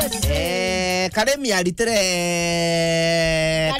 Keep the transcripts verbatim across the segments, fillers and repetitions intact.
Eh, Karemi aritire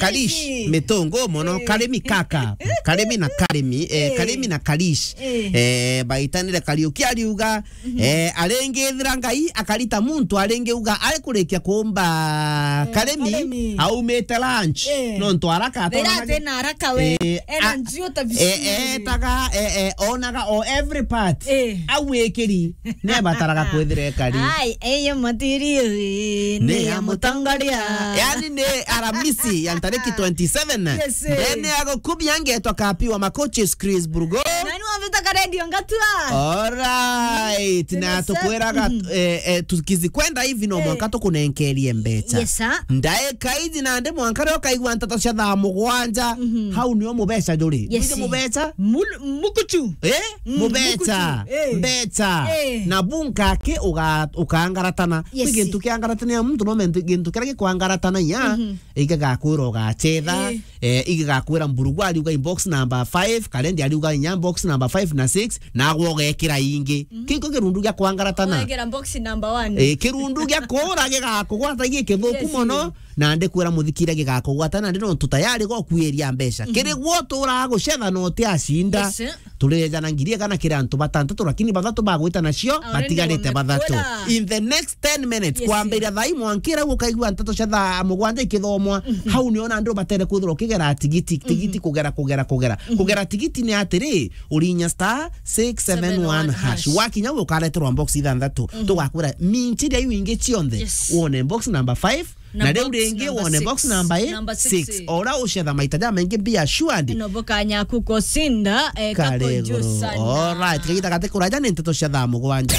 Karish. Karish mitungu mono. Eh. Karemi kaka. Karemi na Karemi. Eh, Eh. Karemi na Karish. Eh. Eh, baitanire Kariuki ariuga, eh, arengethira Ngai akarita muntu arengiuga ari kurikia kumba Eh, Karemi Karemi. aumite lunch. Eh. Nontu araka Thira atona ati na araka we. Eh, Ena a- njuo ta eh, biciri. eh, etaga, eh, eh, onaga o every part. Eh. Au ikiri, nebataraga kwithira ekari. Ai, eyo matiri, eh, Ni ni ya ya mutongoria. Mutongoria. Yani ni Aramisi ya ntariki twenty-seven. Yes, eh. Ndene ya gukubia ngetwa kapi wa makoches Chris Burgo. Nani wavita ka radio ngatua? Alright, na Yes, sir. tukwiraga, Mhm. eh, eh, tukizikwenda hivi no Eh. mwanka tukunenkerie mbeca. Yes, sir. Ndaika iji nandi mwanka rio kaigua nteto cia thaa mugwanja, Mhm. hau nio mubeca juri. Yes, Nige sir. mubeca? Mul-, mukuchu. Eh? Mm, Mubeca. mukuchu. Eh. Mbeca. Eh. Na bunka ki uga-, ukangaratana. Yes, Kwi gintu sir. kiangaratania muntu no muntu gintu kiria gikwangaratanagia, Mhm. igakwira ugachetha, Eh. eh, igakwira Mburugu ariuga in box number five, Karendi ariuga inya box number five na six, nagwe ugekira ingi. Mhm. Kiko kirundu gia kwangaratana. Wekira box number one. Eh, kirundu gia kura gigakugwata gikithuku Yes, mono, eh. na ndikwira muthikire gigakugwata, na ndi nontu tayari gokwiria mbeca. Mhm. Kiri gwo turaga gucetha na utiacinda. Yes, eh. Turijana ngiri igana kiri antu batantatu, lakini bathatu bagwita nacio, Already batigarite bathatu. wamekula. In the next ten minutes, Yes, kwambiria thaa imwe nkira gukaigua nteto cia thaa mugwanja ikithomwa, Mhm. hau nio nandi ubatere kwithirwa ukigera tigiti, tigiti Mhm. kugera, kugera, kugera. Mhm. Kugera tigiti ni atiri, urinya star six seven one hash. Seven one hash. Wakinya u ukareterwa box ithanthatu. Mhm. Tugakwira minchiria iu ingi cionthe. Yes. Wone box number five, Na na riu box ringi number wone six. box number i-, Number six, six. eh. Ora ucetha maita jamaingi, be assured. No bukanya kukosinda, eh, Kare kako juu iguru. sana. Alright, kagita gati kuraja ni nteto cia thaa mugwanja.